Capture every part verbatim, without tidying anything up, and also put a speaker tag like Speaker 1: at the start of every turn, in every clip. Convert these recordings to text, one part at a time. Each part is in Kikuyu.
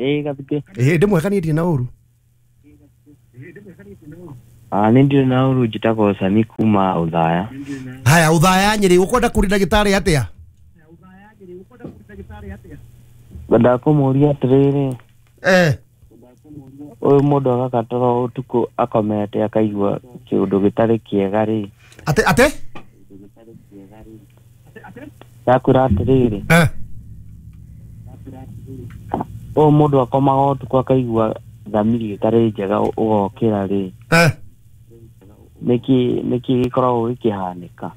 Speaker 1: Ĩĩ Gathukĩ.
Speaker 2: Ĩĩ ndĩ mwega niĩ ndirĩ na ũru.
Speaker 1: Ah, nĩ ndirĩ na ũru, njĩtagwo Sami kuma Ũthaya.
Speaker 2: Haya, Ũthaya Nyĩrĩ, ũkwenda kũria ndagĩtarĩ atĩa?
Speaker 1: Ngwendaga kũmũria atĩrĩrĩ,
Speaker 2: Eh.
Speaker 1: ũyũ mũndũ agaka toro ũtukũ akomete akaigua kĩũndũ gĩtarĩ kĩega rĩ.
Speaker 2: Ate ate?
Speaker 1: Ndakwĩra atĩrĩrĩ,
Speaker 2: Eh.
Speaker 1: ũyũ mũndũ akomaga ũtukũ akaigua thamiri ĩtarĩ njega ũgokĩra rĩ.
Speaker 2: Eh.
Speaker 1: Nĩkĩ nĩkĩ gĩkoragwo gĩkĩhanĩka?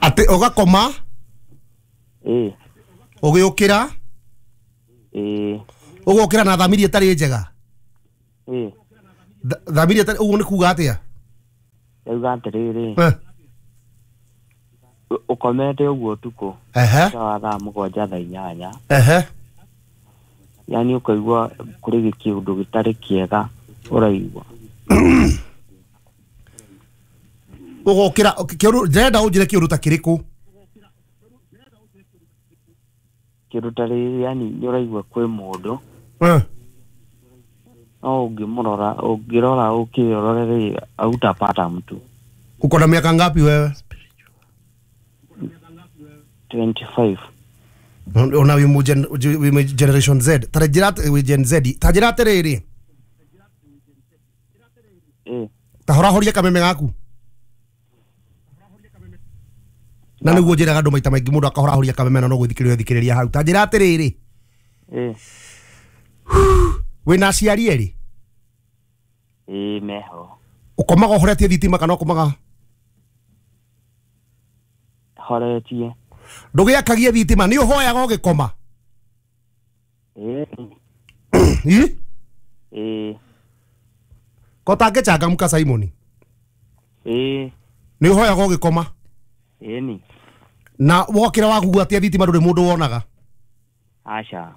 Speaker 2: Ate ũgakoma?
Speaker 1: Ĩĩ.
Speaker 2: Ũgĩũkĩra?
Speaker 1: Ĩĩ.
Speaker 2: Ũgokĩra na thamiri ĩtarĩ njega?
Speaker 1: Ĩĩ.
Speaker 2: Thamiri ĩtarĩ, ũguo nĩ kuga atĩa?
Speaker 1: Ndauga atĩrĩrĩ,
Speaker 2: Eh.
Speaker 1: ũkomete ũguo ũtukũ.
Speaker 2: Ehe.
Speaker 1: Ta wa thaa mũgwanja thaa inyanya.
Speaker 2: Ehe.
Speaker 1: Yaani ũkaigua kũrĩ kĩũndũ gĩtarĩ kĩega ũraigua.
Speaker 2: Ũgokĩra, kĩũndũ, ndĩrenda ũnjĩre kĩũndũ ta kĩrĩkũ?
Speaker 1: Kĩndũ ta rĩrĩ, yani nĩ ũraigua kwĩ mũndũ.
Speaker 2: Eh.
Speaker 1: No ũngĩmũrora, ũngĩrora ũkĩrore rĩ, hautapata mtu.
Speaker 2: Uko na miaka ngapi wewe?
Speaker 1: twenty-five.
Speaker 2: Ona wĩ mu gen, wĩ mu generation Z. Ta njĩra atĩ, wĩ Gen Z. Ta njĩra atĩrĩrĩ.
Speaker 1: Eh.
Speaker 2: Ta horahoria kameme gaku. Na nĩguo njĩraga andũ maita maingĩ mũndũ akahorahoria kameme na no gwĩthikĩrĩria thikĩrĩria hau. Ta njĩra atĩrĩrĩ.
Speaker 1: Eh.
Speaker 2: Wĩna aciari erĩ?
Speaker 1: Ĩĩ meho.
Speaker 2: Ũkomaga ũhoretie thitima kana ũkomaga?
Speaker 1: Horetie.
Speaker 2: Ndũgĩakagie thitima, nĩ ũhoyaga ũgĩkoma?
Speaker 1: Ĩĩ.
Speaker 2: Ĩ?
Speaker 1: Ĩĩ.
Speaker 2: Ko tangĩcangamũka Simon?
Speaker 1: Ĩĩ.
Speaker 2: Nĩ ũhoyaga ũgĩkoma?
Speaker 1: Ĩni.
Speaker 2: Na wokĩra waguatia thitima ndũrĩ mũndũ wonaga?
Speaker 1: Aca.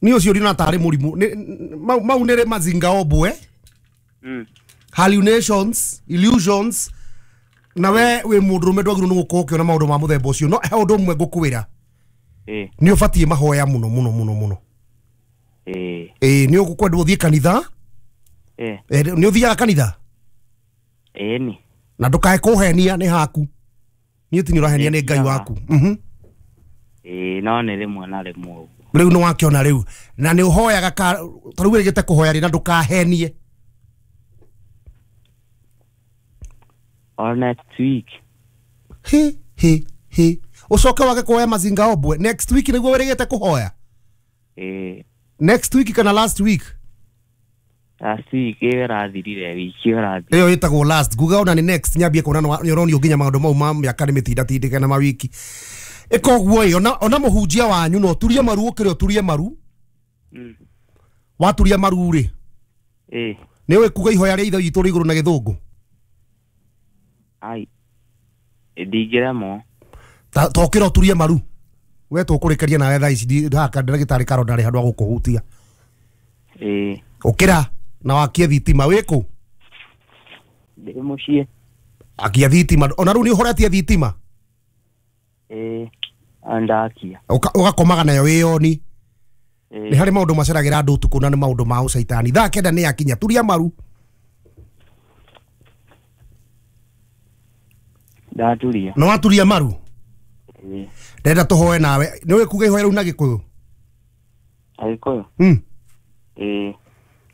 Speaker 2: Nĩ ũcio ndina tarĩ mũrimũ. Mau mau nĩ mazinga ombwe.
Speaker 1: Mm.
Speaker 2: Hallucinations, illusions. Na we wĩ mũndũrũme ndwagĩrĩirwo nĩ gũkorwo ũkĩona maũndũ ma mũthemba ũcio. No he ũndũ ũmwe ngũkwĩra.
Speaker 1: Ĩĩ.
Speaker 2: Nĩ ũbatiĩ mahoya mũno mũno mũno mũno.
Speaker 1: Ĩĩ.
Speaker 2: Ĩĩ, nĩ ũkwendwo ũthiĩ kanitha?
Speaker 1: Ĩĩ.
Speaker 2: Nĩ ũthiaga kanitha?
Speaker 1: Ĩni.
Speaker 2: Na ndũkae kũhenia nĩ haku. Niĩ ti nĩ ũrahenia nĩ Ngai waku. Mhm.
Speaker 1: Ĩĩ, no nĩ rĩmwe na rĩmwe ũguo.
Speaker 2: Rĩu nĩ wakĩona rĩu. Na nĩ ũhoyaga ka ta rĩu wĩrĩgĩte kũhoya rĩ na ndũkahenie.
Speaker 1: Or next week.
Speaker 2: He he he. Ũcoke wage kuoya mazinga ombwe. Next week nĩguo wĩrĩgĩte kũhoya?
Speaker 1: Ĩĩ.
Speaker 2: Next week kana last week?
Speaker 1: Last week ĩyo ĩrathirire, wiki ĩyo ĩrathirire.
Speaker 2: Ĩyo ĩtagwo last. Nguga ona nĩ next nyambie kuona nĩ ũronio nginya maũndũ mau ma mĩaka nĩ mĩtindatindĩke na mawiki. Ĩka ũguo ĩ, ona ona mũhunjia wanyu no ũturie maru ũkĩre ũturie maru.
Speaker 1: Mm.
Speaker 2: Waturia maru rĩ?
Speaker 1: Ĩĩ.
Speaker 2: Nĩ ũĩ kuga ihoya rĩa Ithe witũ rĩ igũrũ na gĩthũngũ?
Speaker 1: Ai. Ndingĩremwo.
Speaker 2: Ta tokĩra ũturie maru. We tũkũrĩkĩria nawe thaa ici haka ndagĩtarĩ Karonda arĩ handũ ha gũkũhutia.
Speaker 1: Ĩĩ.
Speaker 2: Ũkĩra na wakie thitima wĩkũ?
Speaker 1: Ndĩ mũciĩ.
Speaker 2: Akia thitima. Ona rĩu nĩ ũhoretie thitima?
Speaker 1: Ĩĩ, ndakia.
Speaker 2: Ũgakomaga nayo wĩyoni.
Speaker 1: Ĩĩ.
Speaker 2: Nĩ harĩ maũndũ maceragĩra andũ ũtukũ na nĩ maũndũ ma ũcaitani. Thaa kenda nĩ yakinya, turia maru.
Speaker 1: Ndaturia.
Speaker 2: Na waturia maru?
Speaker 1: Ĩĩ.
Speaker 2: Ndĩrenda tũhoe nawe. Nĩ ũĩ kuga ihoya rĩu na Gĩkũyũ?
Speaker 1: Agĩkũyũ?
Speaker 2: Mm.
Speaker 1: Ĩĩ.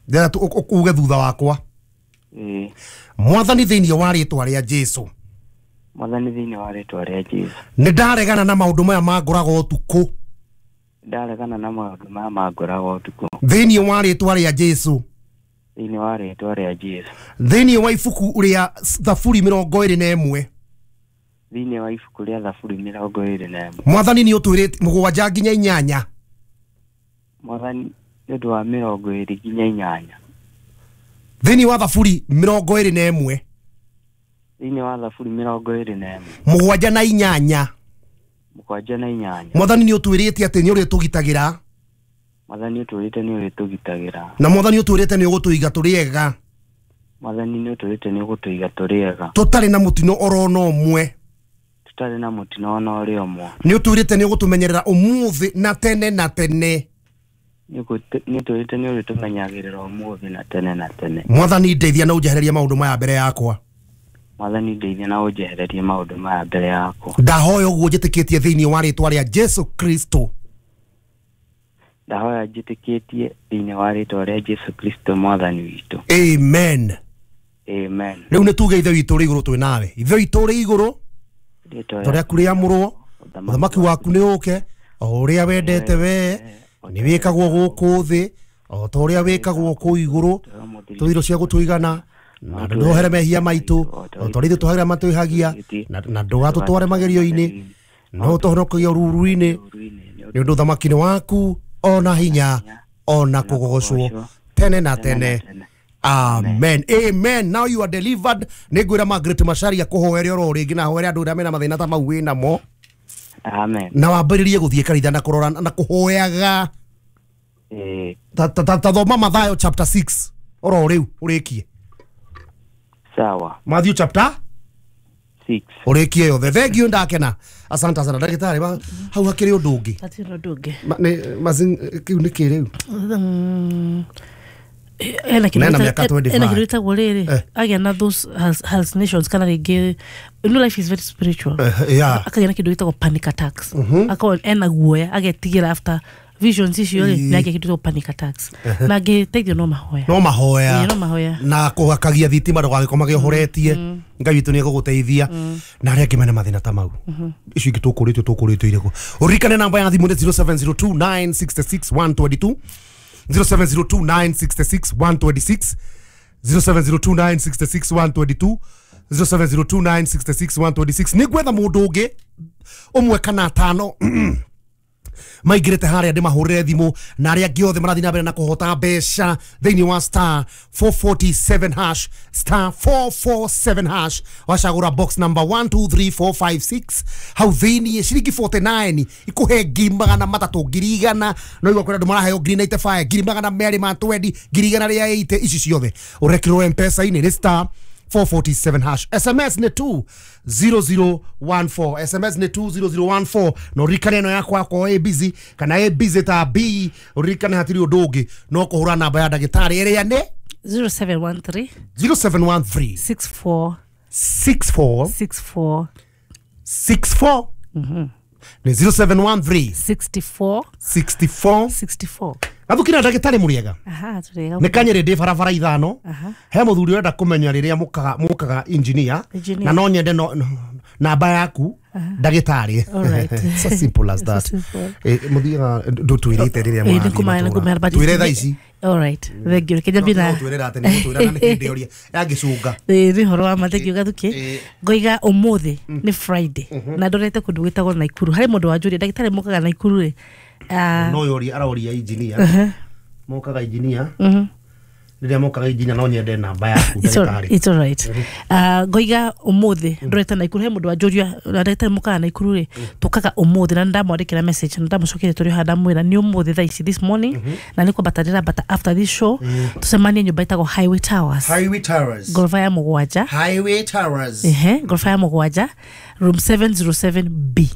Speaker 2: Ndĩrenda uge thutha wakwa.
Speaker 1: Ĩĩ.
Speaker 2: Mwathani thĩinĩ wa rĩtwa rĩa Jesũ.
Speaker 1: Mwathani thĩinĩ wa rĩtwa rĩa Jesũ.
Speaker 2: Nĩ ndaregana na maũndũ maya mangoraga ũtukũ.
Speaker 1: Ndaregana na maũndũ maya mangoraga ũtukũ.
Speaker 2: Thĩinĩ wa rĩtwa rĩa Jesũ.
Speaker 1: Thĩinĩ wa rĩtwa rĩa Jesũ.
Speaker 2: Thĩinĩ wa ibuku rĩa Thaburi mĩrongo ĩrĩ na ĩmwe.
Speaker 1: Thĩinĩ wa ibuku rĩa Thaburi mĩrongo ĩrĩ na ĩmwe.
Speaker 2: Mwathani nĩ ũtwĩrĩte mũgwanja nginya inyanya.
Speaker 1: Mwathani nĩ ũndũ wa mĩrongo ĩrĩ nginya inyanya.
Speaker 2: Thĩinĩ wa Thaburi mĩrongo ĩrĩ na ĩmwe.
Speaker 1: Thĩinĩ wa Thaburi mĩrongo ĩrĩ na ĩmwe.
Speaker 2: Mũgwanja na inyanya.
Speaker 1: Mũgwanja na inyanya.
Speaker 2: Mwathani nĩ ũtwĩrĩte atĩ nĩ ũrĩtũgitagĩra.
Speaker 1: Mwathani ũtwĩrĩte nĩ ũrĩtũgitagĩra.
Speaker 2: Na Mwathani ũtwĩrĩte nĩ ũgũtũiga tũrĩ ega.
Speaker 1: Mwathani nĩ ũtwĩrĩte nĩ ũgũtũiga tũrĩ ega.
Speaker 2: Tũtarĩ na mũtino oro na ũmwe.
Speaker 1: Tũtarĩ na mũtino ona ũrĩ ũmwe.
Speaker 2: Nĩ ũtwĩrĩte nĩ ũgũtũmenyerera ũmũthĩ na tene na tene.
Speaker 1: Nĩ ũtwĩrĩte nĩ ũrĩtũmenyagĩrĩra ũmũthĩ na tene na tene.
Speaker 2: Mwathani ndeithia na ũnjehererie maũndũ maya mbere yakwa.
Speaker 1: Mwathani ndeithia na ũnjehererie maũndũ maya mbere yakwa.
Speaker 2: Ndahoya ũguo njĩtĩkĩtie thĩinĩ wa rĩtwa rĩa Jesu Kristo.
Speaker 1: Ndahoya njĩtĩkĩtie thĩinĩ wa rĩtwa rĩa Jesu Kristo mwathani witũ.
Speaker 2: Amen.
Speaker 1: Amen.
Speaker 2: Rĩu nĩ tuge Ithe witũ ũrĩ igũrũ twĩ nawe. Ithe witũ ũrĩ igũrũ, rĩtwa rĩaku rĩamũrwo, ũthamaki waku nĩ ũke, o ũrĩa wendete we nĩ wĩkagwo gũkũ thĩ o ta ũrĩa wĩkagwo kũu igũrũ. Tũhe irio cia gũtũigana na ndũohere mehia maitũ o ta ũrĩa ithuĩ tũhagĩra matwĩhagia, na ndũgatũtware magerio-inĩ no ũtũhonokie ũruru-inĩ, nĩ ũndũ ũthamaki nĩ waku ona hinya ona kũgocwo tene na tene. Amen. Amen. Now you are delivered. Nĩ ngwĩra Margaret Macharia kũhoere oro rĩngĩ na hoere andũ arĩa mena mathĩna ta mau wĩ namo.
Speaker 1: Amen.
Speaker 2: Na wambĩrĩrie gũthiĩ kanitha na kũrora na kũhoyaga.
Speaker 1: Eh.
Speaker 2: Ta ta ta thoma Mathayo chapter six oro rĩu ũrĩkie.
Speaker 1: Sawa.
Speaker 2: Matthew chapter
Speaker 1: six.
Speaker 2: Ũrĩkie yothe. Thank you ndakena. Asante sana ndagĩtarĩ. Hau hakĩrĩ ũndũ ũngĩ.
Speaker 3: Hatirĩ ũndũ ũngĩ.
Speaker 2: Nĩ mazin kĩu nĩ kĩ rĩu?
Speaker 3: Ena kindu gĩtagwo rĩrĩ agĩa na those hallucinations kana rĩngĩ, you know, life is very spiritual.
Speaker 2: Yeah.
Speaker 3: Akagĩa na kĩndũ gĩtagwo panic attacks. Akorwo ena guoya agetigĩra after visions icio rĩ, nĩ agĩa kĩndũ gĩtagwo panic attacks. Na angĩteithio no mahoya.
Speaker 2: No mahoya.
Speaker 3: No mahoya.
Speaker 2: Na kũhakagia thitima ndũgagĩkomage ũhoretie. Ngai witũ nĩ egũgũteithia. Na arĩa angĩ mena mathĩna ta mau. Icio ingĩ tũkũrĩtio tũkũrĩtio irĩkũ. Ũririkane namba ya thimũ nĩ zero seven zero two nine six six one two two. zero seven zero two nine six six one two six, zero seven zero two nine six six one two two, zero seven zero two nine six six one two six. Nĩ gwetha mũndũ ũngĩ ũmwe kana atano maingĩrĩte harĩa ndĩmahũrĩre thimũ, na arĩa angĩ othe marathiĩ na mbere na kũhota mbeca thĩinĩ wa star four four seven hash, star four four seven hash, wacagũra box number one two three four five six hau thĩinĩ ciringi forty-nine ikũhe ngiri magana matatũ, ngiri igana, no igua kwĩna andũ maraheo ngiri ninety-five, ngiri magana merĩ ma twenty, ngiri igana rĩa eighty, ici ciothe ũrekĩrwo M-Pesa-inĩ nĩ star four four seven hash. S M S nĩ two zero zero one four. S M S nĩ two zero zero one four. No ririkane ĩno yakwa akorwo ĩ busy kana ĩ busy ta B, ũririkane hatirĩ ũndũ ũngĩ no kũhũra namba ya ndagĩtarĩ ĩrĩa nĩ
Speaker 3: zero seven one three
Speaker 2: zero seven one three
Speaker 3: six four
Speaker 2: six four
Speaker 3: six four
Speaker 2: six four. Nĩ zero seven one three
Speaker 3: sixty-four
Speaker 2: sixty-four
Speaker 3: sixty-four.
Speaker 2: Gathukira ndagĩtarĩ mũrĩega.
Speaker 3: Aha, tũrĩega.
Speaker 2: Nĩ kanyĩrĩ ndĩ barabara ithano. He mũthuri ũrenda kũmenya rĩrĩa mũkaga mũkaga engineer, na no nyende no namba yaku ndagĩtarĩ.
Speaker 3: All right.
Speaker 2: It's as simple as that. Eh, mũthiaga ndũtwĩrĩte rĩrĩa mũrathiĩ. Twĩre thaa ici.
Speaker 3: All right. Thank you. Kenya bina.
Speaker 2: Twĩrĩra atĩ nĩ mũtwĩra na nĩ hĩndĩ ũrĩa yangĩcunga.
Speaker 3: Ĩ nĩ ũhoro wa ma, thank you Gathuki. Ngoiga ũmũthĩ nĩ Friday na ndorete kũndũ gwĩtagwo Naikuru. Harĩ mũndũ wanjũria ndagĩtarĩ mũkaga Naikuru rĩ.
Speaker 2: No yoria aroria engineer. Mokaga engineer. Rĩrĩa mokaga engineer no nyende namba yaku ndagĩtarĩ.
Speaker 3: It's all right. Ah, ngoiga ũmũthĩ ndorete Naikuru he mũndũ wanjũria ndagĩtarĩ mũkaga Naikuru rĩ, tũkaga ũmũthĩ na ndamwandĩkĩra message na ndamũcokeria tũrĩ haha ndamwĩra nĩ ũmũthĩ thaa ici this morning na nĩ kwambata ndĩrambata after this show tũcemanie nyũmba ĩtagwo Highway Towers.
Speaker 2: Highway Towers.
Speaker 3: Ngoroba ya mũgwanja.
Speaker 2: Highway Towers.
Speaker 3: Ehe, ngoroba ya mũgwanja room seven zero seven B.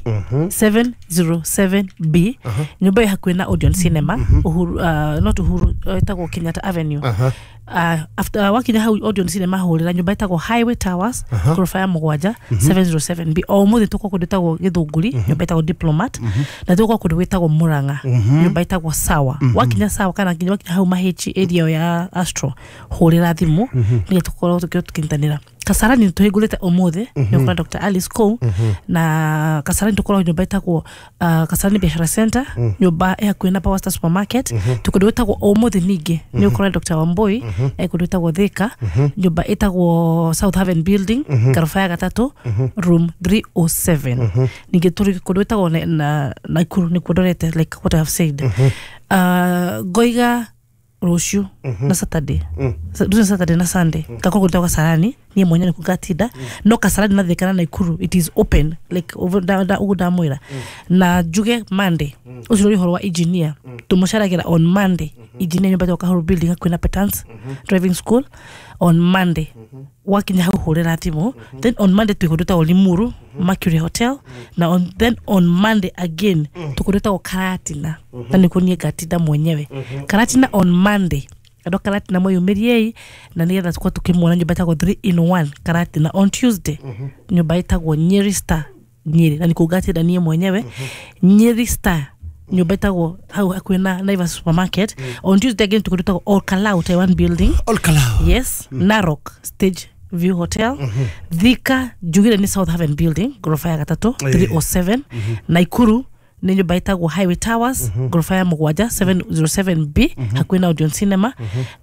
Speaker 3: seven zero seven B. Nyũmba ĩ hakuhĩ na Odeon Cinema, Uhuru, uh, not Uhuru, ĩtagwo Kenyatta Avenue. Uh, after uh, wakinya hau Odeon Cinema hũrĩra nyũmba ĩtagwo Highway Towers, ngoroba ya mũgwanja seven zero seven B. O ũmũthĩ tũkwa kũndũ ĩtagwo Gĩthũngũri, nyũmba ĩtagwo Diplomat, na tũkwa kũndũ gwĩtagwo Murang'a, nyũmba ĩtagwo Sawa. Wakinya Sawa kana nginya wakinya hau Mahechi area ya Astro, hũrĩra thimũ nĩgetha tũkorwo tũkĩnyitanĩra. Kasarani tũhingũrĩte ũmũthĩ nĩ ũkora Doctor Alice Kou, na Kasarani tũkoragwo nyũmba ĩtagwo Kasarani Biashara Center, nyũmba ĩ hakuhĩ na Power Star Supermarket. Tũkũndũ gwĩtagwo ũmũthĩ ningĩ nĩ ũkora Doctor Wambui e kũndũ gwĩtagwo Thika, nyũmba ĩtagwo South Haven Building, ngoroba ya gatatũ, room three oh seven. Ningĩ tũrĩ kũndũ gwĩtagwo na Naikuru nĩkuo ndorete, like what I have said. Ngoiga rũciũ na Saturday, rũciũ Saturday na Sunday ngakorwo gwĩtagwo Kasarani niĩ mwenyewe nĩkuo ngatinda, no Kasarani na Thika na Naikuru it is open like over da ũguo ndamwĩra. Na njuge Monday ũcio nĩ ũhoro wa engineer, tũmũcaragĩra on Monday engineer nyũmba ĩtagwo Kahuru Building hakuhĩ na Petans Driving School. On Monday wakinya hau hũrĩra thimũ. Then on Monday twĩ kũndũ gwĩtagwo Limuru, Mercury Hotel. Na on, then on Monday again tũkũndũ gwĩtagwo Karatina, na nĩkuo niĩ ngatinda mwenyewe Karatina on Monday. Andũ a Karatina mwĩyumĩriei na nĩgetha tũkorwo tũkĩmuona nyũmba ĩtagwo three in one Karatina. On Tuesday nyũmba ĩtagwo Nyeri Star Nyeri, na nĩkuo ngatinda niĩ mwenyewe Nyeri Star, nyũmba ĩtagwo hau hakuhĩ na Naivas Supermarket. On Tuesday again tũkũndũ gwĩtagwo Olkalau, Taiwan Building.
Speaker 2: Olkalau.
Speaker 3: Yes. Narok, Stage View Hotel. Thika njugire nĩ South Haven Building, ngoroba ya gatatũ, three oh seven. Naikuru nĩ nyũmba ĩtagwo Highway Towers, ngoroba ya mũgwanja, seven oh seven B, hakuhĩ na Odeon Cinema.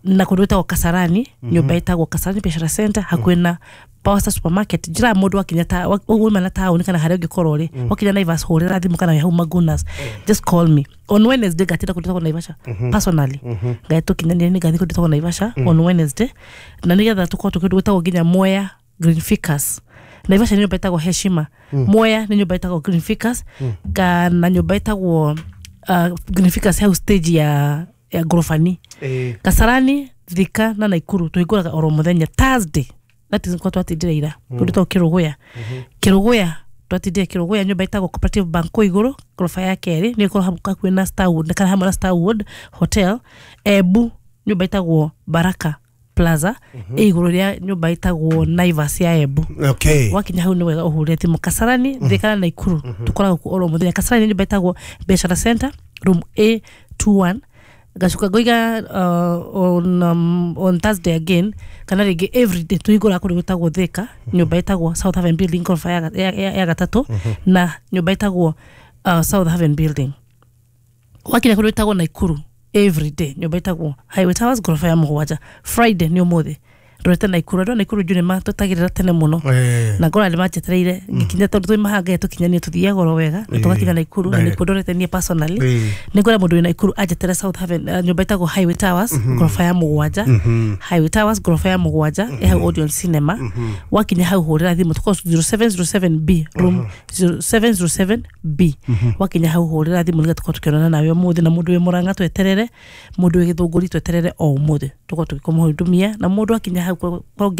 Speaker 3: Na kũndũ gwĩtagwo Kasarani, nyũmba ĩtagwo Kasarani Biashara Center, hakuhĩ na Power Star Supermarket. Njĩra mũndũ wakinya ta wa- wauma na taũni kana harĩa ũngĩkorwo rĩ, wakinya Naivas hũrĩra thimũ kana wĩ hau Magunas, just call me. On Wednesday ngatinda kũndũ gwĩtagwo Naivasha personally. Ngai tũkinyanĩre nĩ ngathiĩ kũndũ gwĩtagwo Naivasha on Wednesday, na nĩgetha tũkorwo tũkĩndũ gwĩtagwo nginya Mwea, Green Ficus. Naivasha nĩ nyũmba ĩtagwo Heshima, Mwea nĩ nyũmba ĩtagwo Green Ficus, kana nyũmba ĩtagwo uh, Green Ficus hau stage ya ya ngorobani.
Speaker 2: Eh.
Speaker 3: Kasarani, Thika na Naikuru tũhingũraga oro mũthenya. Thursday, that is kwa twatindire ira kũndũ twĩtagwo Kĩrũgũya. Kĩrũgũya twatindire Kĩrũgũya, nyũmba ĩtagwo Cooperative Bank kũu igũrũ, ngoroba ya kerĩ, nĩ ĩkorwo hakuhĩ na Starwood kana hamwe na Starwood Hotel. Embu nyũmba ĩtagwo Baraka Plaza, ĩ igũrũ rĩa nyũmba ĩtagwo Naivas ya Embu.
Speaker 2: Okay.
Speaker 3: Wakinya hau nĩ wega ũhũre thimũ. Kasarani, Thika na Naikuru tũkoragwo kuo oro mũthenya. Kasarani nyũmba ĩtagwo Biashara Center, room A twenty-one. Ngacoka ngoiga uh, on, um, on Thursday again kana rĩngĩ everyday tũhingũraga kũndũ gwĩtagwo Thika, nyũmba ĩtagwo South Haven Building, ngoroba ya, ya, ya, ya gatatũ, na nyũmba ĩtagwo uh, South Haven Building. Wakinya kũndũ gwĩtagwo Naikuru everyday nyũmba ĩtagwo Highway Towers, ngoroba ya mũgwanja. Friday nĩ ũmũthĩ ndorete Naikuru. Andũ a Naikuru njũ nĩ matũtagĩrĩra tene mũno
Speaker 2: Eh.
Speaker 3: na ngora nĩ manjetereire ngĩkinya, tondũ twĩ mahangaye tũkinyanie tũthiaga oro wega na tũgakinya Naikuru na
Speaker 2: Direct.
Speaker 3: nĩkuo ndorete niĩ personally.
Speaker 2: Eh.
Speaker 3: Nĩ ngwĩra mũndũ wĩ Naikuru anjetere South Haven, uh, nyũmba ĩtagwo Highway Towers, ngoroba ya mũgwanja. Highway Towers, ngoroba ya mũgwanja, ĩ hau Odeon Cinema. Wakinya hau hũrĩra thimũ, tũkorwo zero seven zero seven B, room zero seven zero seven B. Wakinya hau hũrĩra thimũ nĩgetha tũkorwo tũkĩonana nawe ũmũthĩ. Na mũndũ wĩ Mũrang'a tweterere, mũndũ wĩ Gĩthũngũri tweterere o ũmũthĩ tũkorwo tũgĩkũmũhudumia. Na mũndũ akinya hau korwo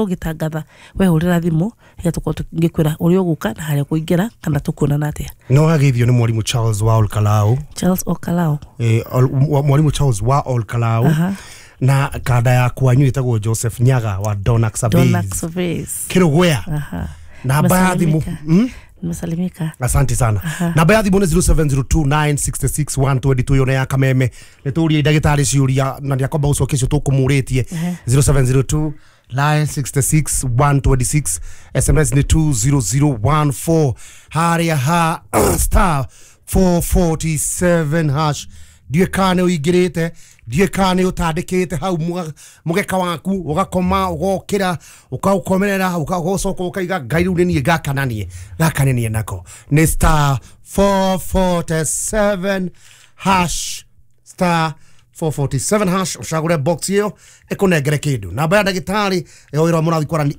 Speaker 3: ngĩtangatha we hũrĩra thimũ nĩgetha tũkorwo tũgĩkwĩra ũrĩa ũgũka na harĩa ũkũingĩra kana tũkuonana atĩa.
Speaker 2: No ageithio nĩ mwarimũ Charles wa Olkalau.
Speaker 3: Charles Okalao.
Speaker 2: Eh, Ol- mwarimũ Charles wa Olkalau.
Speaker 3: Aha.
Speaker 2: Na kanda ya kwanyu ĩtagwo Joseph Nyaga wa Donax
Speaker 3: Donax
Speaker 2: Surveys.
Speaker 3: Surveys.
Speaker 2: Kĩrũgũya.
Speaker 3: Aha.
Speaker 2: Namba ya thimũ.
Speaker 3: Nimesalimika.
Speaker 2: Mm?
Speaker 3: Nimesalimika.
Speaker 2: Asante sana. Namba ya thimũ nĩ zero seven zero two nine six six one two two, yone ya Kameme. Nĩ tũrie ndagĩtarĩ ciũria na nĩakwamba gũcokia icio tũkũmũrĩtie. zero seven zero two nine six six one two six, S M S nĩ two zero zero one four, harĩa ha star four forty-seven hash. Ndiũĩ kana nĩ ũingĩrĩte, ndiũĩ kana nĩ ũtandĩkĩte hau mũga- mũgeka waku, ũgakoma, ũgokĩra, ũkaũkomerera, ũgacoka ũkaiga ngai rĩu nĩ niĩ gakananie gakananie nako. Nĩ star four forty-seven hash, star four forty-seven hash, ũcagũre box ĩyo ĩkũnengere kĩndũ. Namba ya ndagĩtarĩ ĩyo ĩrĩa mũrathiĩ kwarani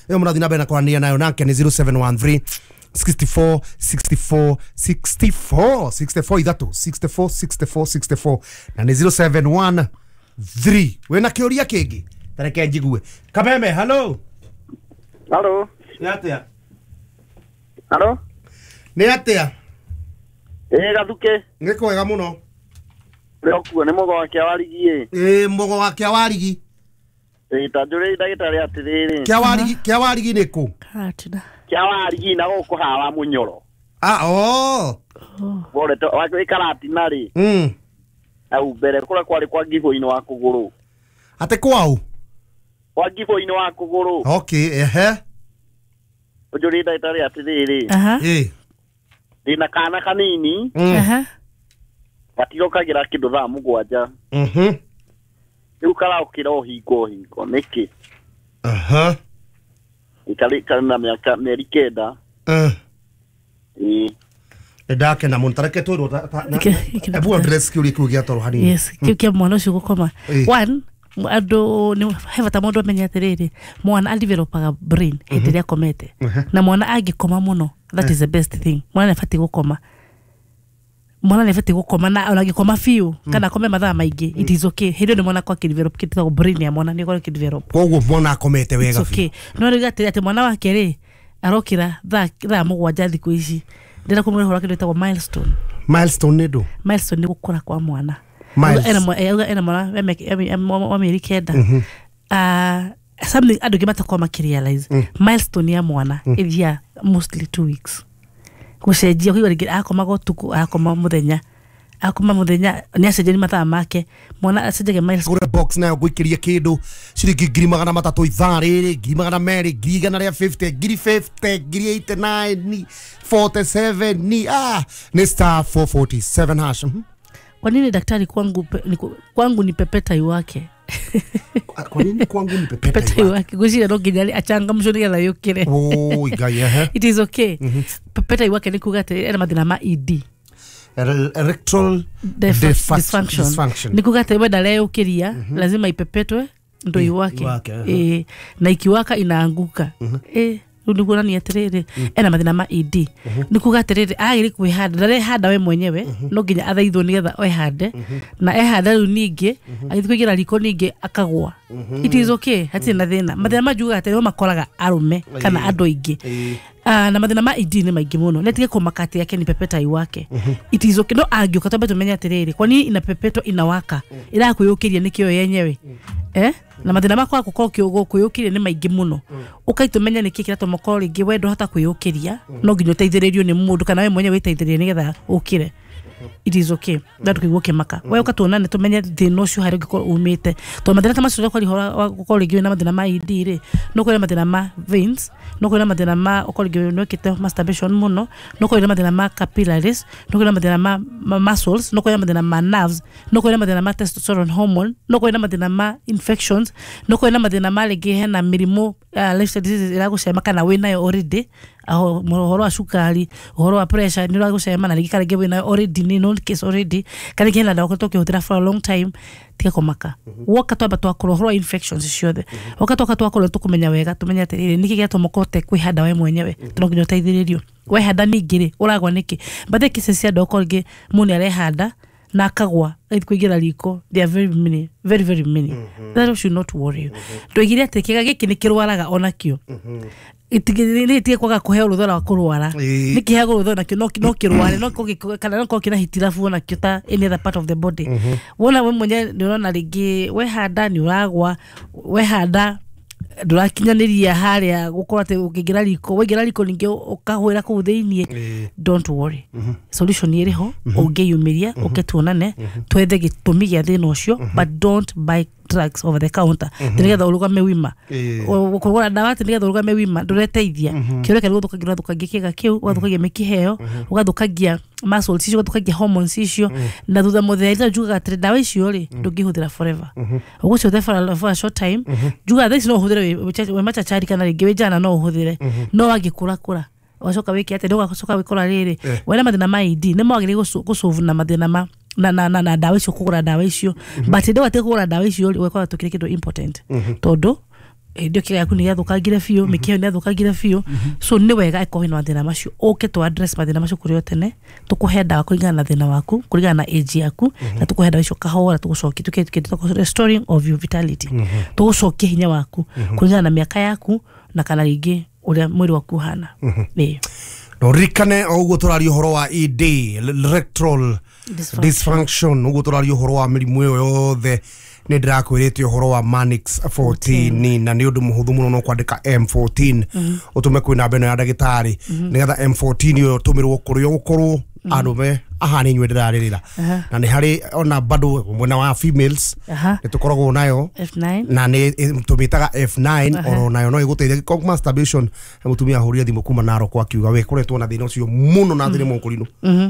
Speaker 2: ĩyo mũrathiĩ na mbere na kwaranĩria nayo nake nĩ zero seven one three sixty-four sixty-four sixty-four sixty-four ithatũ sixty-four sixty-four sixty-four, na nĩ zero seven one three. Wĩna kĩũria kĩngĩ tareke njigue. Kameme, hello.
Speaker 4: Halo.
Speaker 2: Nĩ atĩa?
Speaker 4: Halo.
Speaker 2: Nĩ atĩa?
Speaker 4: Ĩ Gathuke.
Speaker 2: Nĩ kwega mũno.
Speaker 4: Ũrĩa ũkuo nĩ mũgo wa Kĩawarigi ĩ.
Speaker 2: Ĩ mũgo wa Kĩawarigi.
Speaker 4: Ĩ ta njũrĩrie ndagĩtarĩ atĩrĩrĩ.
Speaker 2: Kĩawarigi, Kĩawarigi nĩ kũ?
Speaker 3: Karatina.
Speaker 4: Kĩawarigi na gũkũ hawa Mũnyoro.
Speaker 2: Ah, oh.
Speaker 4: Worete wĩ Karatina rĩ.
Speaker 2: Mm.
Speaker 4: Hau mbere kũrĩa kwarĩ kwa ngibũ-inĩ wa kũgũrũ.
Speaker 2: Atĩ kwau?
Speaker 4: Kwa ngibũ-inĩ wa kũgũrũ.
Speaker 2: Okay, ehe.
Speaker 4: Ũnjũrĩrie ndagĩtarĩ atĩrĩrĩ.
Speaker 3: Aha.
Speaker 2: Ĩ.
Speaker 4: Ndĩna kana kanini
Speaker 2: Mm.
Speaker 3: Aha.
Speaker 4: gatirokagĩra kĩndũ thaa mũgwanja.
Speaker 2: Mhm.
Speaker 4: Rĩu karaũkĩra o hingo o hingo nĩkĩ?
Speaker 2: Aha.
Speaker 4: Ĩkarĩ karĩ na mĩaka mĩeri kenda.
Speaker 2: Eh.
Speaker 4: Ĩ.
Speaker 2: Nĩ ndakena mũno tareke twĩrwo.
Speaker 3: Ike- ike-
Speaker 2: Ebu address kĩũria kĩu gĩa toro hanini.
Speaker 3: Yes, kĩu kĩa mwana ũcio gũkoma.
Speaker 2: Ĩ.
Speaker 3: One, andũ nĩ he bata mũndũ amenye atĩrĩrĩ, mwana adevelopaga brain hĩndĩ ĩrĩa akomete, na mwana angĩkoma mũno, that is the best thing. Mwana nĩ abatiĩ gũkoma. Mwana nĩ abatiĩ gũkoma na ona angĩkoma biũ kana akome mathaa maingĩ, it is okay. Hĩndĩ ĩyo nĩ mwana akwa akĩdevelop kĩndũ gĩtagwo brain ya mwana nĩ ĩkorwo ĩkĩdevelop.
Speaker 2: Koguo mwana akomete wega
Speaker 3: It's okay. No rĩu atĩrĩ atĩ mwana wake rĩ arokĩra thaa thaa mũgwanja thikũ ici, ndĩrenda kũmwĩra ũhoro wa kĩndũ gĩtagwo milestone.
Speaker 2: Milestone nĩ ndũ?
Speaker 3: Milestone nĩ gũkũra kwa mwana.
Speaker 2: Miles.
Speaker 3: Ena mwa- eh, auga ena mwana wa mĩaka- wa mĩeri kenda. Ah, something andũ aingĩ matakoragwo makĩrealize, milestone ya mwana ĩthiaga mostly two weeks gũcenjia, kũigua rĩngĩ akomaga ũtukũ akoma mũthenya, akoma mũthenya nĩ acenjia mathaa make, mwana acenjagia milestone.
Speaker 2: Ngũre box nayo ngũikĩrie kĩndũ ciringi ngiri magana matatũ ithaa rĩrĩ, ngiri magana merĩ, ngiri igana rĩa mĩrongo ĩtano, ngiri mĩrongo ĩtano, ngiri mĩrongo ĩnane na kenda, mĩrongo ĩnane na mũgwanja, ah, nĩ star four forty-seven hash. Mhm.
Speaker 3: Kwa nini daktari kwangu, pe, ni, kwangu ni pepeta iwake?
Speaker 2: Kwa nini kwangu ni pepeta?
Speaker 3: Pepeta iwake, ngwĩciria no nginya achangamshwo nĩgetha yũkĩre.
Speaker 2: Oi Ngai, ehe.
Speaker 3: It is okay. Pepeta iwake nĩ kuga atĩ ena mathĩna ma E D.
Speaker 2: Erectile
Speaker 3: Defa-
Speaker 2: Defa-
Speaker 3: dysfunction.
Speaker 2: Dysfunction.
Speaker 3: Ni kuga atĩ we ndareyũkĩria, lazima ipepetwe ndo iwake.
Speaker 2: Iwake, aha.
Speaker 3: Eh, na ikiwaka inaanguka. Eh, rĩu nĩ kuonania atĩrĩrĩ ena mathĩna ma E D. Nĩ kuga atĩrĩrĩ agĩrĩ kwĩhanda, ndarehanda we mwenyewe, no nginya athaithwo nĩgetha ehande, na ehanda rĩu ningĩ agĩthiĩ kũingĩra riko ningĩ akagwa. It is okay, hatirĩ na thĩna. Mathĩna manjugaga atĩ nĩmo makoraga arũme kana andũ aingĩ. Ah, na mathĩna ma E D nĩ maingĩ mũno. Nĩ atige kũmaka atĩ yake ni pepeta iwake. It is okay. No angĩũka twambe tũmenye atĩrĩrĩ kwa nini inapepetwa inawaka, ĩrakwĩyũkĩria nĩkĩo yenyewe, eh na mathĩna makwa gũkorwo kĩũgũ kwĩyũkĩria nĩ maingĩ mũno. Ũkai tũmenye nĩkĩ kĩratũma ũkorwo rĩngĩ we ndũhota kwĩyũkĩria, no nginya ũteithĩrĩrio nĩ mũndũ kana we mwenyewe wĩteithĩrĩrie nĩgetha ũkĩre. It is okay na ndũkaigua ũkĩmaka. We ũka tuonane tũmenye thĩna ũcio harĩa ũngĩkorwo umĩte, tondũ mathĩna ta macio ũkorwo ũhoro wa gũkorwo rĩngĩ wĩna mathĩna ma E D rĩ, no ũkorwo wĩna mathĩna ma veins, no ũkorwo wĩna mathĩna ma ũkorwo rĩngĩ nĩ wĩkĩte masturbation mũno, no ũkorwo wĩna mathĩna ma capillaries, no ũkorwo wĩna mathĩna ma, ma muscles, no ũkorwo wĩna mathĩna ma nerves, no ũkorwo wĩna mathĩna ma testosterone hormone, no ũkorwo wĩna mathĩna ma infections, no ũkorwo wĩna mathĩna ma rĩngĩ hena mĩrimũ, uh, lifestyle diseases ĩragũcema kana wĩnayo already, aho ũhoro wa cukari, ũhoro wa pressure nĩ ũragũcema, na rĩngĩ kana rĩngĩ wĩnayo already, nĩ known case already, kana rĩngĩ hena ndawa ũkoretwo ũkĩhũthĩra for a long time. Tiga kũmaka. Woka twamba twakorwo ũhoro wa infections ciothe, woka twoka twakorwo tũkũmenya wega, tũmenye atĩrĩrĩ nĩkĩ gĩatũma ũkorwo ũtekwĩhanda we mwenyewe, tondũ no nginya ũteithĩrĩrio. Wehanda ningĩ rĩ ũragwa nĩkĩ? But the cases cia andũ okorwo rĩngĩ mũndũ nĩ arehanda na akagwa agĩthiĩ kũingĩra riko, they are very many, very very many. That should not worry you. Ndoigire atĩ kĩga gĩkĩ nĩ kĩrwaraga onakĩo, nĩ kwaga kũheo rũtha rwa kũrwara.
Speaker 2: Ĩĩ.
Speaker 3: Nĩ kĩheagwo rũtha nakĩo no no kĩrware, no korwo kana no korwo kĩna hitilafu onakĩo ta any other part of the body. Wona we mwenyewe nĩ ũrona rĩngĩ wehanda nĩ ũragwa, wehanda ndũrakinyanĩria harĩa gũkorwo atĩ ũkĩingĩra riko, waingĩra riko ningĩ ũkahũĩra kũu thĩiniĩ.
Speaker 2: Ĩĩ.
Speaker 3: Don't worry, solution ĩrĩ ho. Ũngĩyumĩria ũke tuonane twethe gĩtũmi gĩa thĩna ũcio, but don't buy drugs over the counter atĩ nĩgetha ũrũgame wima.
Speaker 2: Ĩĩ.
Speaker 3: Kũgũra ndawa atĩ nĩgetha ũrũgame wima ndũreteithia. Kĩũria kĩrĩa gũthũkangia, ũrathũkangia kĩga kĩu, ũgathũkangia mĩkiha ĩyo, ũgathũkangia muscles icio, ũgathũkangia hormones icio, na thutha mũtheri njugaga atĩrĩ ndawa icio rĩ ndũngĩhũthĩra forever, ũgũcihũthĩra for a, for a short time. Njugaga thaa ici no ũhũthĩre wĩ- wĩ wĩ machachari kana rĩngĩ wĩ njana no ũhũthĩre, no wangĩkũra kũra ũgacoka wĩke atĩ ũgacoka wĩkora rĩrĩ
Speaker 2: Eh.
Speaker 3: wena mathĩna ma E D nĩ mawagĩrĩire gũsolve na mathĩna ma na na na, na ndawa icio, kũgũra ndawa icio. But hĩndĩ ĩyo atĩ kũgũra ndawa icio rĩ, ũgakora tũkĩrĩ kĩndũ important, tondũ hĩndĩ ĩyo kĩga yaku nĩ gĩathũkangire biũ, mĩkiha ĩyo nĩ yathũkangire biũ. So nĩ wega ĩkorwo wĩna mathĩna macio ũke tũ address mathĩna macio kũrĩ o tene, tũkũhe ndawa kũringana na thĩna waku, kũringana na age yaku, na tũkũhe ndawa icio kahora, tũgũcokia tũke kĩndũ restoring of your vitality, tũgũcokia hinya waku kũringana na mĩaka yaku na kana rĩngĩ ũrĩa mwĩrĩ waku ũhana. Ĩĩ.
Speaker 2: Na ũririkane o ũguo tũraria ũhoro wa E D, erectile
Speaker 3: Dysfunction.
Speaker 2: dysfunction, ũguo tũraria ũhoro wa mĩrimũ ĩyo yothe, nĩ ndĩrakwĩrĩte ũhoro wa Manix fourteen, na nĩ ũndũ mũhũthũ mũno, no kwandĩka M fourteen ũtũme kwĩ namba ĩno ya ndagĩtarĩ nĩgetha M fourteen ĩyo ĩtũmĩrwo kũrĩa ũgũkorwo arũme aha nĩ inyuĩ ndĩrarĩrĩra, na nĩ harĩ ona bado mwena wa females
Speaker 3: Aha.
Speaker 2: nĩ tũkoragwo nayo
Speaker 3: F nine.
Speaker 2: Na nĩ tũmĩtaga F nine, oro nayo no ĩgũteithia ko masturbation. Mũtumia ahũrire thimũ kuma Narok akiuga we koretwo na thĩna ũcio mũno na thĩna mũkũrinũ.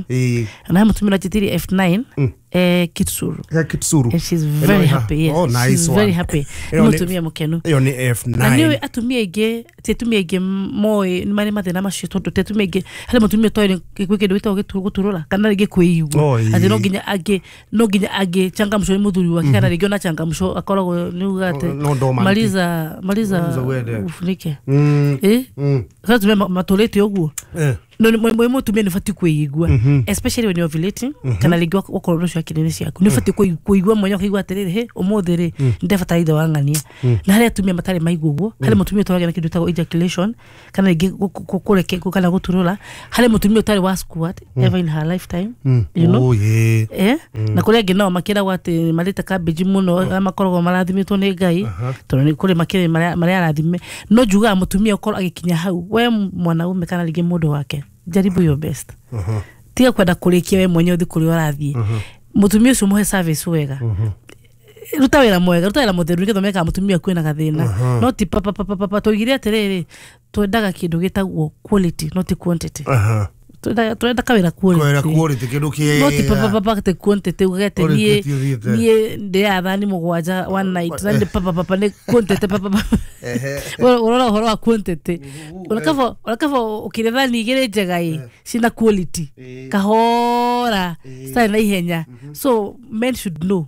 Speaker 2: Ĩĩ.
Speaker 3: Na mũtumia ũranjĩtĩrie F nine, eh, Kitsuru.
Speaker 2: Kitsuru.
Speaker 3: And she's very
Speaker 2: Ĩno-
Speaker 3: happy, yes.
Speaker 2: Oh, nice
Speaker 3: She's
Speaker 2: one.
Speaker 3: very happy.
Speaker 2: Ĩyo
Speaker 3: Nĩ
Speaker 2: nĩ-
Speaker 3: mũtumia mũkenu.
Speaker 2: Ĩyo nĩ F nine.
Speaker 3: Na nĩ atumia aingĩ, ti atumia aingĩ moĩ nĩ marĩ mathĩna macio, tondũ ti atumia aingĩ harĩ mũtumia ũtoĩ gwĩ kĩndũ gĩtagwo gĩtu- gũturũra kana rĩngĩ kwĩigua
Speaker 2: Oh, ĩĩ.
Speaker 3: atĩ no nginya angĩ no nginya angĩ changamshwo nĩ mũthuri wake, kana rĩngĩ ona changamshwo akoragwo nĩ uga atĩ
Speaker 2: No dormant.
Speaker 3: Maliza, maliza
Speaker 2: Maliza uende.
Speaker 3: ufunike.
Speaker 2: Mm,
Speaker 3: eh
Speaker 2: mm.
Speaker 3: Kana atumia ma- matũrĩte ũguo.
Speaker 2: Eh.
Speaker 3: No mwe mutumia nĩ ũbatiĩ kwĩigua, especially when you're ovulating, kana rĩngĩ wakorwo ũcio akili-inĩ ciaku nĩ ũbatiĩ kũigua mwenye, ũkaigua atĩrĩrĩ, he ũmũthĩ rĩ nĩndebatara ithe wa ng'ania. Na harĩ atumia matarĩ maigua ũguo, harĩ mũtumia ũtwaragĩa na kĩndũ gĩtagwo ejaculation, kana rĩngĩ kũreke kana gũturũra, harĩ mũtumia ũtarĩ wa squat ever in her lifetime, you know.
Speaker 2: Oh, yeah.
Speaker 3: Eh, na kũrĩ angĩ nao makĩragwo atĩ marĩte cabbage mũno, arĩa makoragwo marathimĩtwo nĩ Ngai, tondũ nĩ kũrĩ makĩrĩ marĩa arathime. No njugaga mũtumia ũkorwo agĩkinya hau, we mwanaume kana rĩngĩ mũndũ wake, jaribu your best. Tiga kwenda kũrĩkia we mwenyewe ũthiĩ kũrĩa ũrathiĩ. Mũtumia ũcio mũhe service wega, ruta wĩra mwega, ruta wĩra mũtheru, nĩgetha ũmenye kana mũtumia kwĩna gathĩna. No ti papa papa papa. Tũigire atĩrĩrĩ, twendaga kĩndũ gĩtagwo quality, not quantity. Tũrenda kawĩra
Speaker 2: quality,
Speaker 3: quality
Speaker 2: kĩndũ kĩega,
Speaker 3: no ti papa papa te quantity ugete niĩ niĩ ndĩaga thani mũgwanja one night na nĩ papa papa nĩ quantity papa papa. Ũrora ũhoro wa quantity, ũrakaba ũrakaba ũkĩrĩa thani igĩrĩ njega ĩ cina quality kahora citarĩ na ihenya. So men should know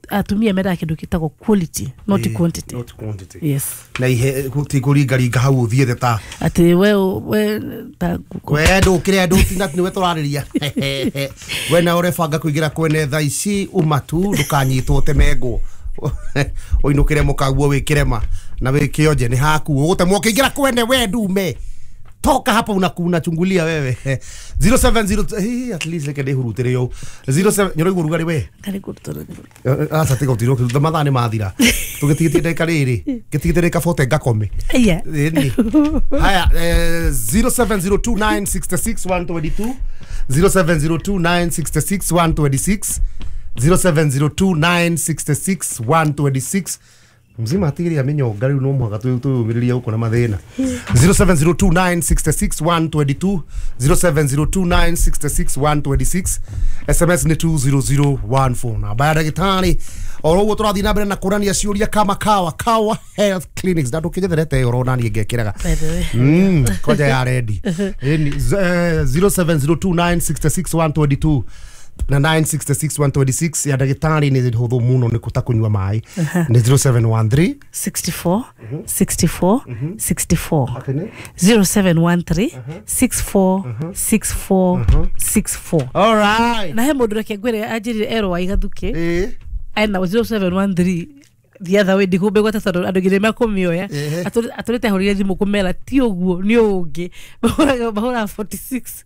Speaker 3: atumia mendaga kĩndũ gĩtagwo quality, not quantity.
Speaker 2: Not quantity.
Speaker 3: Yes.
Speaker 2: Na ihe ti kũringaringa hau ũthiĩte ta
Speaker 3: atĩ we we ta
Speaker 2: we ndũkĩre ndũtina nĩwe tũrarĩria we na ũrebanga kũingĩra kwene thaa ici uma tu ndũkanyitwo ũtemengwo ũinũkĩre mũkaguo wĩkĩrema na wĩkĩonje nĩ haku ũgũtemwo ũkĩingĩra kwene we ndume toka hapa unachungulia wewe. Zero seven zero hey, at least reke ndĩhurutĩre yo zero seven nyoro rugarĩ we aca tiga ũtirwo mathaa nĩ mathira tũgĩtigĩtie ndagĩka rĩrĩ ngĩtigĩtie ndagĩka forty ngakome. Ĩni haya, zero seven zero two nine six six one two two, zero seven zero two nine six six one two six, zero seven zero two nine six six one two six. Mzima atigĩrĩra mĩnyonga rĩu no mũhaka twĩyũmĩrĩrie gũkũ na mathĩna. Zero seven zero two nine six six one two two, zero seven zero two nine six six one two six. S M S nĩ two zero zero one four. Namba ya ndagĩtarĩ oro ũguo tũrathiĩ na mbere na kũrania ciũria kama kawa kawa health clinics na ndũkĩnyetherete oro nani ngekĩraga mm koja ya ready zero seven zero two nine six six one two two na nine six six one two six ya ndagĩtarĩ nĩ hũthũ mũno nĩ kũta kũnyua maĩ nĩ zero seven one three
Speaker 3: sixty four sixty four sixty four, zero seven one three six four six four six four.
Speaker 2: All right.
Speaker 3: Na he mũndũ reke ngwĩre anjĩrire erwo wa igathuke
Speaker 2: eh
Speaker 3: ena zero seven one three the other way ndikũmbĩgwata tondũ andũ nginya mekũmĩoya atũrĩte ahũrire thimũ kũmera ti ũguo nĩ ũngĩ mahũraga forty six.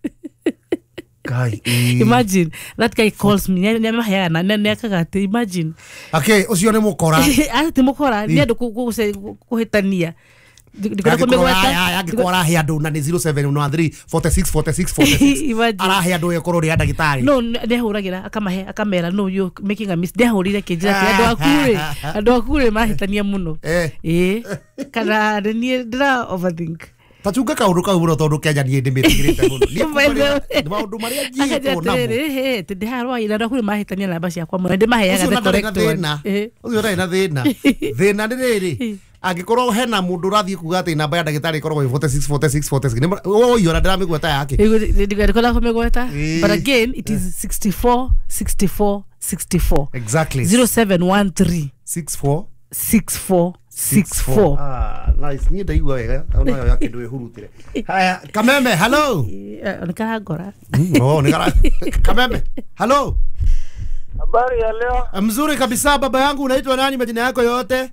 Speaker 2: Guy,
Speaker 3: imagine that guy calls me nĩ amaheaga na nĩ akaga atĩ imagine
Speaker 2: okay ũcio nĩ mũkora
Speaker 3: atĩ mũkora nĩ andũ kũhĩtania
Speaker 2: angĩkorwo arahe andũ na nĩ zero seven one three forty six forty six forty six arahe andũ ĩkorwo rĩ ndagĩtarĩ
Speaker 3: no nĩ ahũragĩra akamahe akamera no you making a mistake ndahũrire kĩnjĩra atĩ andũ aku rĩ andũ aku rĩ mahĩtania mũno ĩĩ kana nĩ niĩ ndĩra overthink
Speaker 2: tachunga kaundu kau muno tondu Kenya niĩ ndĩmĩtigĩrĩte mũno nĩ maũndũ marĩa njiĩtwo namo
Speaker 3: atĩrĩrĩ hĩ ndĩharwa ira andũ aku mahĩtania namba ciakwa mũno ndĩmaheaga the correct one
Speaker 2: ũcio ndarĩ na thĩna thĩna nĩ rĩrĩ angĩkorwo hena mũndũ ũrathiĩ kuga atĩ namba ya ndagĩtarĩ ĩkoragwo ĩ forty six forty six forty six ũyũ ona ndĩramĩgweta yake
Speaker 3: ndĩkwenda kũmĩgweta but again it is sixty four sixty four sixty four
Speaker 2: exactly
Speaker 3: zero seven one three
Speaker 2: six four
Speaker 3: six four six four.
Speaker 2: Ah, nice. Niĩ ndaigua wega ona yo yake ndwĩhurutĩre. Haya, Kameme, hello.
Speaker 3: Nĩ karangora.
Speaker 2: Oh, nĩ kara Kameme, hello.
Speaker 4: Habari ya leo?
Speaker 2: Mzuri kabisa baba yangu, unaitwa nani majina yako yote?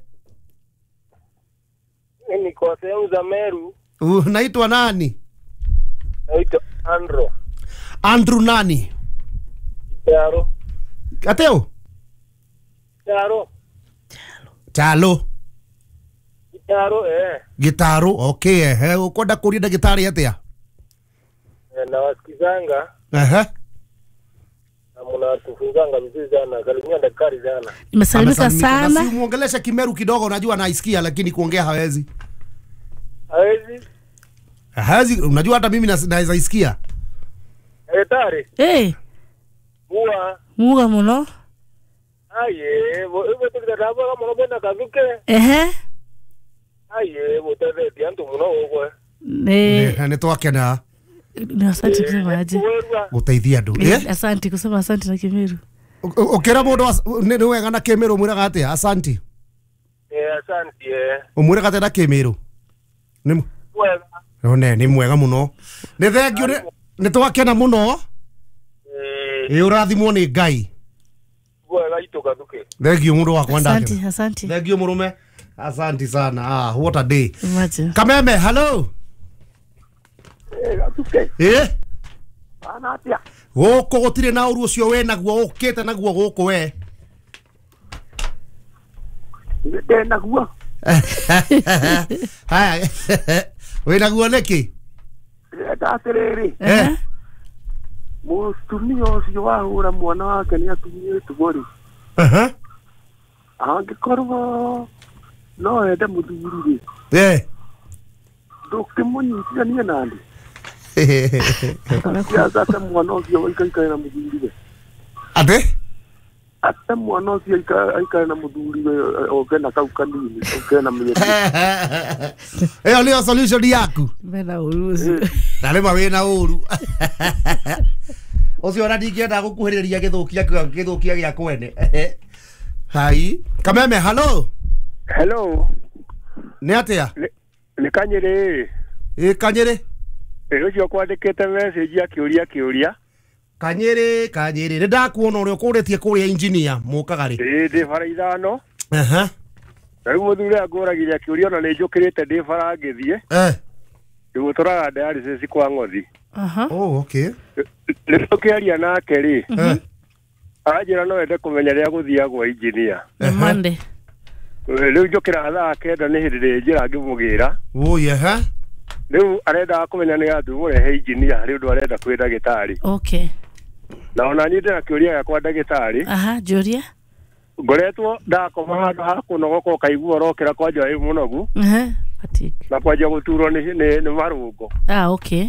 Speaker 4: Mimi niko sehemu za Meru.
Speaker 2: Unaitwa nani?
Speaker 4: Naitwa Andrew.
Speaker 2: Andrew nani?
Speaker 4: Charo.
Speaker 2: Ateo?
Speaker 4: Charo.
Speaker 2: Chalo.
Speaker 4: Gitaro eh.
Speaker 2: Gitaro, okay eh. Ukwenda kuria ndagĩtarĩ atĩa?
Speaker 4: Eh, nawasikizanga.
Speaker 2: Ehe.
Speaker 4: Na mnatufunzanga vizuri sana. Salimia daktari sana.
Speaker 3: Nimesalimika sana.
Speaker 2: Si muongelesha Kimeru kidogo, unajua anaisikia lakini kuongea hawezi.
Speaker 4: Hawezi?
Speaker 2: Hawezi, unajua hata mimi naweza isikia.
Speaker 4: Daktari.
Speaker 3: Eh.
Speaker 4: Mua.
Speaker 3: Mua muno.
Speaker 4: Aye, bo tukitaka muno bwana kazuke.
Speaker 3: Ehe.
Speaker 4: Aye, botethetie antu muno ũguo.
Speaker 3: Ne
Speaker 2: nĩ twakena.
Speaker 3: Ni asante kusema aje.
Speaker 2: Gũteithia andũ.
Speaker 3: Asante kusema asante na Kĩmeru.
Speaker 2: Ũkĩra mũndũ nĩ wega na Kĩmeru mwĩraga atĩa? Asante.
Speaker 4: Eh, asante eh.
Speaker 2: Ũmwĩraga atĩa na Kĩmeru? Nĩ
Speaker 4: wega.
Speaker 2: One nĩ mwega mũno. Nĩ thengiũ nĩ twakena mũno. Ĩ ũrathimwo nĩ Ngai.
Speaker 4: Wega itũ Gathuke.
Speaker 2: Thengiũ mũndũ wakwa ndakena.
Speaker 3: Asante, asante.
Speaker 2: Thengiũ mũrũme. Asante sana. Ah, what a day.
Speaker 3: Imagine.
Speaker 2: Kameme, hello.
Speaker 4: Eh, Gathuke.
Speaker 2: Eh?
Speaker 4: Ana atia.
Speaker 2: Gũkũ gũtirĩ na ũru ũcio wĩ naguo ũkĩte naguo gũkũ we.
Speaker 4: Ndĩ naguo.
Speaker 2: Haya. Wĩ naguo nĩkĩ?
Speaker 4: Ndĩrenda atĩrĩrĩ.
Speaker 2: Eh.
Speaker 4: Mũtumia ũcio wahũra mwana wake nĩ atunyĩtwo rĩ.
Speaker 2: Aha.
Speaker 4: Angĩkorwo no ende mũthuri rĩ.
Speaker 2: Eh.
Speaker 4: Ndũkĩmũnyitithanie nani. Ate mwana ũcio aikaikare na mũthuriwe.
Speaker 2: Ate?
Speaker 4: Ate mwana ũcio aikare na mũthuriwe oke na kau kanini oke na mĩeri.
Speaker 2: Ĩyo nĩyo solution yaku.
Speaker 3: Mena ũru ũcio.
Speaker 2: Na rĩma wĩna ũru. Ũcio ona ndingĩenda gũkuhĩrĩria gĩthũkia gĩthũkia gĩa kwene. Hai. Kameme, hello.
Speaker 4: Hello.
Speaker 2: Nĩ atĩa?
Speaker 4: Nĩ Kanyĩrĩ.
Speaker 2: Ĩ Kanyĩrĩ.
Speaker 4: Ũcio kwandĩkĩte message akĩũria kĩũria.
Speaker 2: Kanyĩrĩ, Kanyĩrĩ. Nĩ ndakuona ũrĩa ũkũrĩtie kũrĩa engineer mũkaga rĩ.
Speaker 4: Ĩ ndĩ bara ithano.
Speaker 2: Aha.
Speaker 4: Na rĩu mũthuri angũragire akĩũria ona nĩ njũkĩrĩte ndĩ bara ngĩthiĩ.
Speaker 2: Eh.
Speaker 4: Ndĩgũtũraga dialysis kwa Ng'othi.
Speaker 3: Aha.
Speaker 2: Oh, okay.
Speaker 4: Rĩu tũkĩaria nake rĩ.
Speaker 2: Eh.
Speaker 4: Anjĩra no ende kũmenya rĩrĩa gũthiagwo engineer.
Speaker 3: Monday.
Speaker 4: Rĩu njũkĩra thaa kenda nĩ hĩndĩ ndĩ njĩra ngĩmũgĩra.
Speaker 2: Oi, aha.
Speaker 4: Rĩu arendaga kũmenya nĩ gathu mũrehe engineer harĩ ũndũ arenda kwĩ ndagĩtarĩ.
Speaker 3: Okay.
Speaker 4: Na ona niĩ ndĩna kĩũria gĩakwa ndagĩtarĩ.
Speaker 3: Aha, njũria.
Speaker 4: Ngoretwo ndakoma handũ ha kũnogoka ũkaigua ũrokĩra kwanja wĩ mũnogu.
Speaker 3: Aha, fatigue.
Speaker 4: Na kwanja gũturwo nĩ nĩ nĩ marũngo.
Speaker 3: Ah, okay.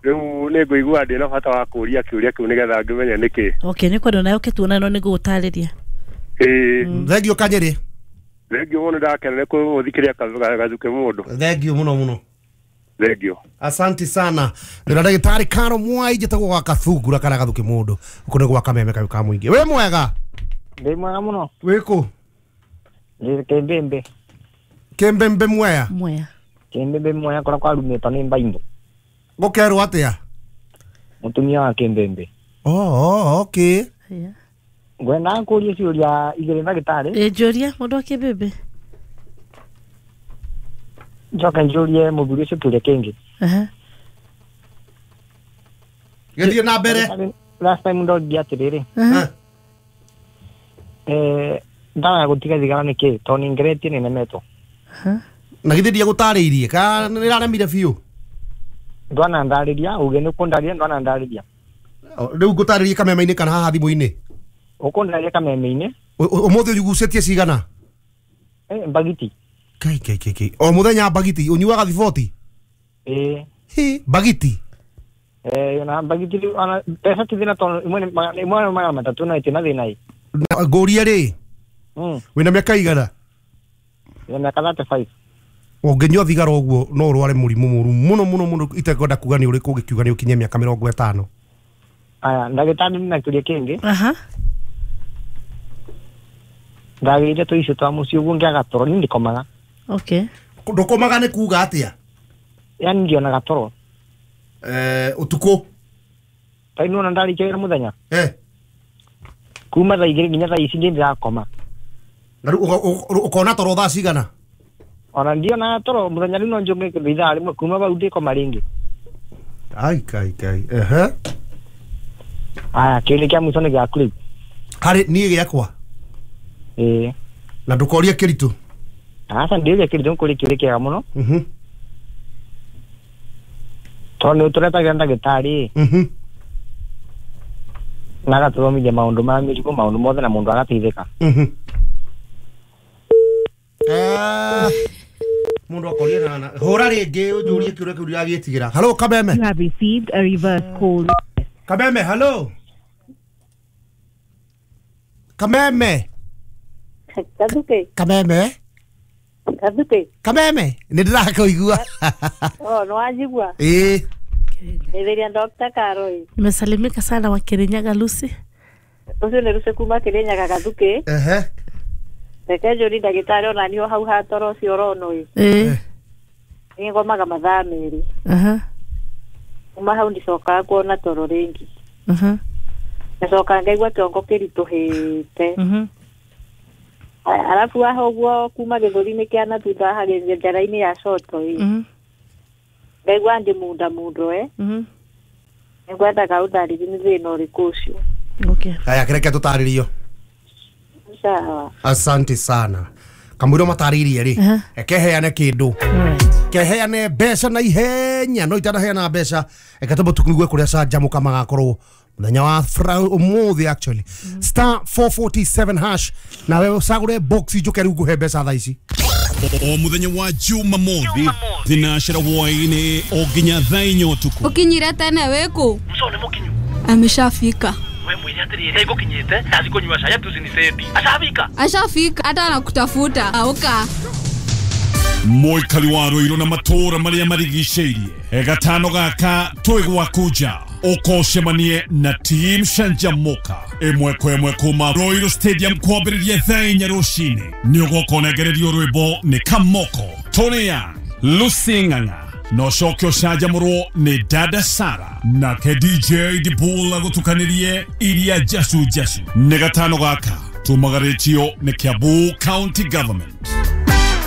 Speaker 4: Rĩu nĩ ngũigua ndĩna bata wa kũũria kĩũria kĩu nĩgetha ngĩmenye nĩkĩ.
Speaker 3: Okay, nĩ kwenda nayo ũkĩtuona no nĩngũgũtarĩria.
Speaker 4: Ĩĩ.
Speaker 2: Thengiũ Kanyĩrĩ.
Speaker 4: Thengiũ mũno ndakena nĩ kũthikĩrĩria Gathuke mũndũ.
Speaker 2: Thengiũ mũno mũno.
Speaker 4: Thengiũ.
Speaker 2: Asante sana. Ndĩra ndagĩtarĩ Karo Mwai njĩtagwo gwa Kathungura kana Gathuke mũndũ. Ũkũ nĩ gwa Kameme kayũ ka mũingĩ. Wĩ mwega?
Speaker 1: Ndĩ mwega mũno.
Speaker 2: Wĩ kũ?
Speaker 1: Ndĩ Kĩmbĩmbĩ.
Speaker 2: Kĩmbĩmbĩ Mwea?
Speaker 3: Mwea.
Speaker 1: Kĩmbĩmbĩ Mwea kũrĩa kwarumĩtwo nĩ Mbaimbo.
Speaker 2: Gũkerwo atĩa?
Speaker 1: Mũtumia wa Kĩmbĩmbĩ.
Speaker 2: Oh, oh, okay.
Speaker 3: Yeah.
Speaker 1: Ngwendaga kũũria ciũria igĩrĩ ndagĩtarĩ.
Speaker 3: Ĩ njũria mũndũ wa Kĩmbĩmbĩ.
Speaker 1: Njoke njũrie mũthuri ũcio kĩũria kĩngĩ.
Speaker 3: Aha.
Speaker 2: Gĩthiĩ na mbere.
Speaker 1: Last time ndoririe atĩrĩrĩ.
Speaker 3: Aha.
Speaker 1: Eh, ndawa ya gũtiga thigara nĩ kĩ? Tondũ nĩngeretie nĩ nemetwo.
Speaker 3: Aha.
Speaker 2: Na githĩ ndiagũtarĩirie kana nĩraremire biũ?
Speaker 1: Ndwana ndarĩria, uge nĩ ũkũndarĩria ndwana ndarĩria.
Speaker 2: Rĩu ngũtarĩrie kameme-inĩ kana haha thimũ-inĩ?
Speaker 1: Ũkũndarĩria kameme-inĩ.
Speaker 2: Ũmũthĩ ũgucĩtie cigana?
Speaker 1: Eh, mbagiti.
Speaker 2: Kai kai kai kai. O mũthenya mbagiti ũnyuaga thiboti?
Speaker 1: Ĩĩ.
Speaker 2: Hi, mbagiti.
Speaker 1: Eh, ona mbagiti ona mbeca ti thĩna tondũ ĩmwe nĩ ĩmwe nĩ magana matatũ na ĩtĩ na thĩna ĩ.
Speaker 2: Ngũrie rĩ.
Speaker 1: Mm.
Speaker 2: Wĩna mĩaka igana?
Speaker 1: Wĩna mĩaka thirty five.
Speaker 2: Ũngĩnyua thigara ũguo no ũrware mũrimũ mũru mũno mũno mũno itekwenda kuga nĩ ũrĩkũ ũgĩkiuga nĩ ũkinye mĩaka mĩrongo ĩtano.
Speaker 1: Aya, ndagĩtarĩ nĩ na kĩũria kĩngĩ.
Speaker 3: Aha.
Speaker 1: Ndagĩrĩire tũicio twa mũciĩ ũguo ngĩaga toro niĩ ndikomaga.
Speaker 3: Okay.
Speaker 2: Ndũkomaga nĩ kuga atĩa?
Speaker 1: Yaani ndionaga toro.
Speaker 2: Eh, ũtukũ?
Speaker 1: Ta nĩ wona ndarĩkia wĩra mũthenya?
Speaker 2: Eh.
Speaker 1: Kuma thaa igĩrĩ nginya thaa ici ndĩ ndĩrakoma.
Speaker 2: Na rĩu ũkona toro thaa cigana?
Speaker 1: Ona ndionaga toro mũthenya rĩu no njũke kĩndũ ithaa rĩmwe kuma bau ndĩkoma rĩngĩ.
Speaker 2: Ai kai kai. Ehe.
Speaker 1: Aya, kĩũria kĩa mũico nĩ gĩaku rĩu.
Speaker 2: Harĩ niĩ gĩakwa?
Speaker 1: Ĩĩ.
Speaker 2: Na ndũkorie kĩritũ?
Speaker 1: Aca ndĩũria kĩritũ nĩkũria kĩũria kĩega mũno.
Speaker 2: Mhm.
Speaker 1: Tondũ nĩ ũtũretagĩra ndagĩtarĩ.
Speaker 2: Mhm.
Speaker 1: Na agatũthomithia maũndũ ma mĩrimũ maũndũ mothe na mũndũ agateithĩka.
Speaker 2: Mhm. Ah. Mundu akorie na na hũra rĩngĩ ũnjũrie kĩũria kĩu ndĩragĩtigĩra. Hello Kameme.
Speaker 5: You have received a reverse call.
Speaker 2: Kameme, hello. Kameme.
Speaker 6: Kathuke.
Speaker 2: Kameme.
Speaker 6: Kathuke.
Speaker 2: Kameme, nĩ ndĩrakũigua.
Speaker 6: Oh, no wanjigua.
Speaker 2: Ĩĩ.
Speaker 6: Nĩthĩria Doctor Karoi.
Speaker 3: Nimesalimika sana wa Kirinyaga Lucy.
Speaker 6: Ũcio nĩ Lucy kuma Kirinyaga Gathuke.
Speaker 2: Ehe.
Speaker 6: Reke njũrie ndagĩtarĩ ona niĩ o hau ha toro ũcio ũronwo ĩ.
Speaker 3: Ĩĩ.
Speaker 6: Nĩ ngomaga mathaa merĩ.
Speaker 3: Aha.
Speaker 6: Kuma hau ndicokaga kuona toro rĩngĩ.
Speaker 3: Aha.
Speaker 6: Ngacoka ngaigua kĩongo kĩritũhĩte.
Speaker 3: Mhm.
Speaker 6: Arabu haha ũguo kuma gĩthũri-inĩ kĩa na thutha haha njara-inĩ ya coto ĩ.
Speaker 3: Mhm.
Speaker 6: Ngaigua ngĩmunda mundo eh.
Speaker 3: Mhm.
Speaker 6: Nĩngwendaga ũndarĩrie nĩ thĩna ũrĩkũ ũcio.
Speaker 3: Okay.
Speaker 2: Haya kĩreke tũtarĩrio.
Speaker 6: Sawa.
Speaker 2: Asante sana. Kamwĩro matarĩirie rĩ.
Speaker 3: Aha.
Speaker 2: Ekeheane kĩndũ.
Speaker 3: Alright.
Speaker 2: Keheane mbeca na ihenya no itanaheana mbeca eke tũmũ tũkigue kũrĩa canjamũka magakorwo mũthenya wa fra- ũmũthĩ actually star four forty-seven hash nawe ũcagũre box njũke rĩu ngũhe mbeca thaa ici.
Speaker 7: O muthenya wa Jumamothi thinacera hwaini o nginya thaa inya ũtukũ.
Speaker 8: Ukinyire tene wĩkũ?
Speaker 9: Mso nĩ mũkinyu.
Speaker 8: Ameshafika.
Speaker 9: We mwĩre atĩrĩrĩ, nĩngũkinyĩte ndathi kũnyua cai ati ũcinicendi. Ashafika.
Speaker 8: Ashafika hata anakutafuta. Auka.
Speaker 7: Mũikari wa Ruiru na matũũra marĩa marigicĩirie gatano gaka twĩ gwaku nja ũkocemanie na team Canjamuka ĩmwe kwa ĩmwe kuma Ruiru Stadium kwambĩrĩria thaa inya rũcinĩ. Nĩ ũgoka ũnengererio rwĩmbo nĩ Kamoko, Tony Young, Lucy Ng'ang'a na ũcoke ũcanjamũrwo nĩ Dada Sara nake D J Dibula gũtukanĩrie iria njacu njacu. Nĩ gatano gaka tumagarĩtio nĩ Kiambu County Government.